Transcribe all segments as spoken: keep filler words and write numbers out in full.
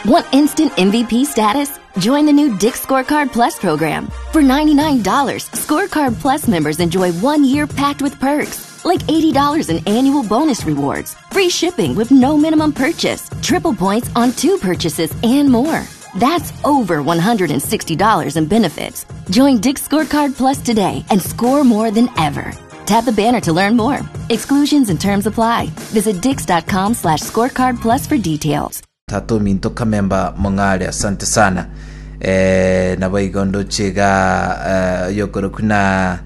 Want instant M V P status? Join the new Dick's Scorecard Plus program. For ninety-nine dollars, Scorecard Plus members enjoy one year packed with perks, like eighty dollars in annual bonus rewards, free shipping with no minimum purchase, triple points on two purchases, and more. That's over one hundred sixty dollars in benefits. Join Dick's Scorecard Plus today and score more than ever. Tap the banner to learn more. Exclusions and terms apply. Visit dicks.com slash scorecard plus for details. Tatu minto kamemba mong'are, asante sana. Eh, nabo igondo chega eh, yokoro kuna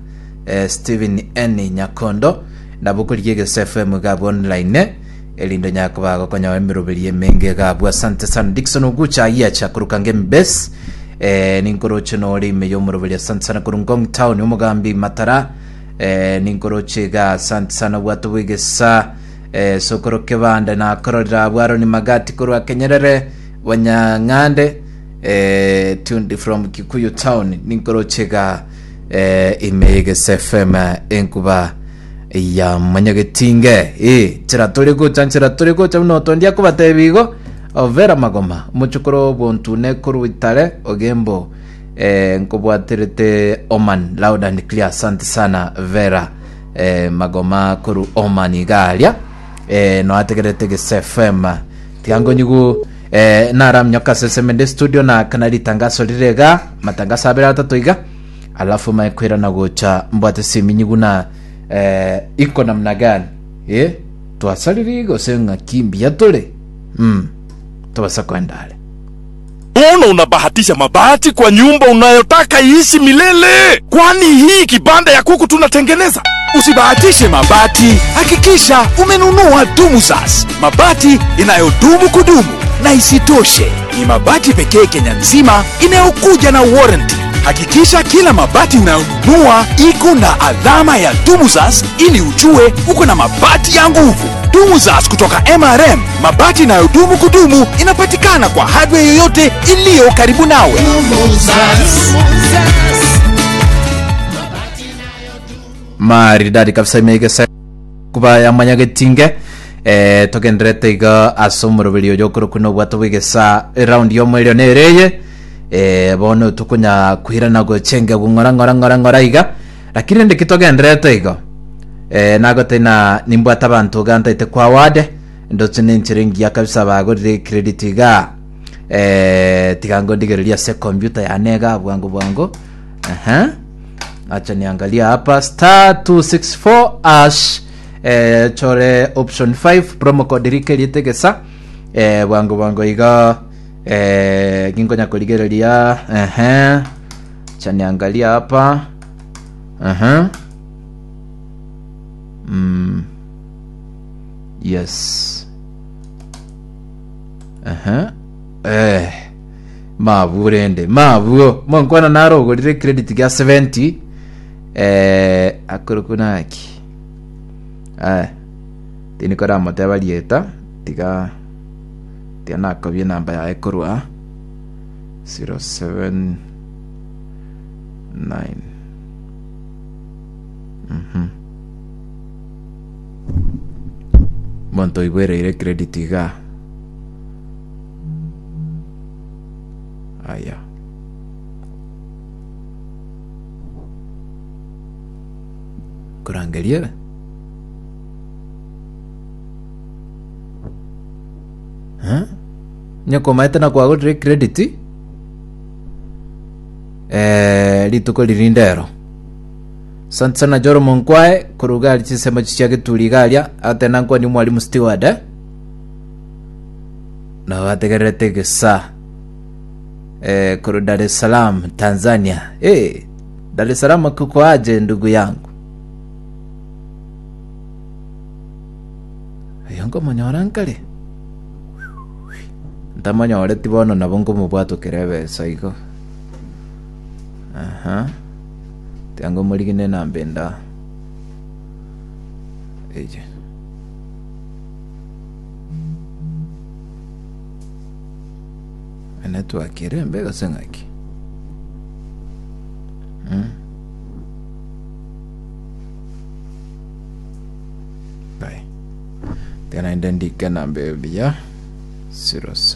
eh, Steven N Nyakondo nabo kuri Egesa F M gabo online elindo nyako bago konya emiroberi emenge gabo, asante sana. Dickson Ogucha yiacha kurukange mbes eh, ninkoroche nori meyo muroberi, asante sana. Kurungong town omugambi matara eh, ninkoroche ga, asante sana. Bwato bwegesa eh, sokoro kebanda na korora bwaro ni magati korwa Kenyerere wanyang'ande eh, tuned from Kikuyu town ninkorochega eh, imegesa F M enkuba ya manyagetinge eh chira tore gocha chira tore gocha no tondia kubatebigo overa magoma muchukuro bontune kuruitare ogembo eh, nkobwaterete Oman loud and clear, asante sana Vera eh, magoma kuru Oman igaria eh, no ategerete Egesa F M tiango nyugu eh, naramnyoka sesemende studio na kanali tangazo rirega matangazo abira atatu iga alafu maekwira na gocha mbwate siminyigu na eh, iko namna gani eh twasaliri gose kimbia tole mm tubasa kwendale. Mbona unabahatisha mabati kwa nyumba unayotaka iishi milele? Kwani hii kibanda ya kuku tunatengeneza? Usibahatishe mabati, hakikisha umenunua Dumusas, mabati inayodumu kudumu. Na isitoshe, ni mabati pekee Kenya nzima inayokuja na warranty. Hakikisha kila mabati unayonunua iko na alama ya Dumusas ili ujue uko na mabati ya nguvu. Dumusas kutoka M R M, mabati inayodumu kudumu, inapatikana kwa hardware yoyote iliyo karibu nawe. Dumusas. Maridadi kabisa imegesa kuba ya manyagetinge eh togenderete iga asomoro bilio jokoro kuno bwato bwegesa round yo mwelio nereye eh bono tukunya kuhirana gochenge gungora ngora ngora ngora iga lakini ndi kitogenderete iga eh nagote na nimbwata abantu ganta ite kwa wade ndotse nenchirengi ya kabisa bagorire credit iga eh tigango ndigereria se computer yanega bwangu bwangu aha. Acha niangalia hapa star two six four hash eh, chore option five promo code rike litegesa eh, bwangu bwangu iga eh, gingonya kuligereria ehe. Acha niangalia hapa ehe mm. Yes ehe eh maburende mabuo monkwana naro ogorire credit ga seventy eh akurukunaki eh tinikora moteba rieta tiga tiga nakobie namba yae korwa zero seven nine mhm monto igwereire credit iga aya kurangeria huh? Nyoko maete na kwagorire credit eh rituko lirindero asante sana Joro Monkwae kuruga chisemo chia gituri garia atena nkwa ni mwalimu steward eh? Na wategerete gesa eh kuru Dar es Salaam Tanzania. Eh Dar es Salaam kuko aje ndugu yangu? Ayongo monyora nkale ntamonyore tibono nabo ngomobwato kerebe saigo aha tiango morigine nambenda eje network ere mbega sengaki mm. Bye. Tena ndandika namba ya zero